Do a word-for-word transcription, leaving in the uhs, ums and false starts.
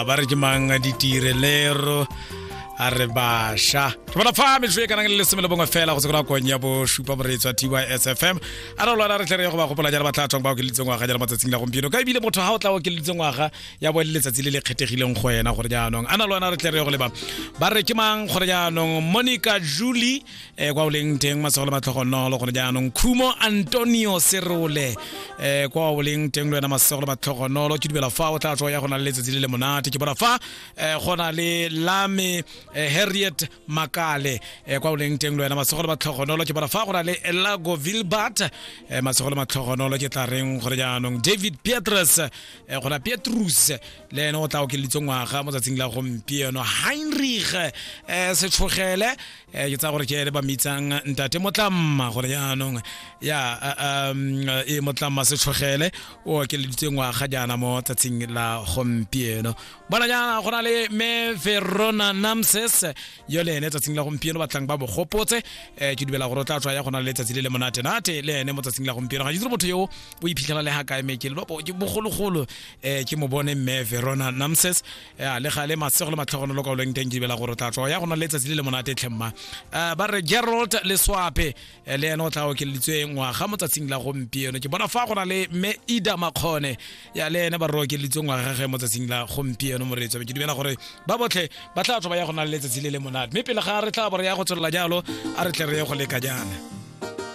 Ya ba re ke mang ditirelero a re bašwa ke bona fa metsotso e kanang le lesome le bongwe fela go se kona kong ya bosupa moreetsi wa T Y S F M. A re lona re tle re ye go ba gopola jalo ba tla tswang ba okeleditse ngwaga jalo matsatsing la gompieno, ka ebile motho ga o tla okeleditse ngwaga ya bo le letsatsi le le kgethegileng go ena gore jaanong a na lona re tle re ye go leba ba re ke mang gore jaanong Monica Julie eh, kwa o leng teng masego le matlhogonolo gore jaanong Khumo Antonio Serole eh, kwa o leng teng le wena masego le matlhogonolo ke dumela fa o tla tswa ya go na le letsatsi le le monate. Ke bona fa eh, go na le Lame eh, Harriet Makale eh, kwa o leng teng le wena masego le matlhogonolo. Ke bona fa go na le Elago Vilbert eh, masego le matlhogonolo. Ke tla reng gore jaanong David Petrus eh, gona Petrus le ene o tla okeleditse ngwaga mo tsatsing la gompieno. Heinrich eh, Setshogele eh, ke tsaya gore ke ene ba mitsang ntate Motlamma gore jaanong ya um, e Motlamma Setshogele o okeleditse ngwaga jaana mo tsatsing la gompieno. Bona jaana go na le me Verona Namses yo le ene tsatsing la gompieno batlang ba bogopotse eh, ke dumela gore o tla tswa ya go na le letsatsi le le monate-nate le ene mo tsatsing la gompieno. Ga ke itse motho yo o iphitlhela le ga kae me ke bogologolo eh, ke mo bone mme Verona Namses eh, le gale masego le matlhogonolo ka o leng teng ke dumela gore o tla tswa ya go na le letsatsi le le monate tlhemma. Uh, ba re Gerald Leswape eh, le ene o tla okeleditswe ngwaga mo tsatsing la gompieno. Ke bona fa go na le mme Ida Makgone ya le ene ba re okeleditswe ngwaga ge mo tsatsing la gompieno moreetsi. Ke dumela gore ba botlhe ba tla tswa ba ya go na le letsatsi le le monate, mme pele ga re tla bo re ya go tswelela jalo a re tle re ye go leka jaana.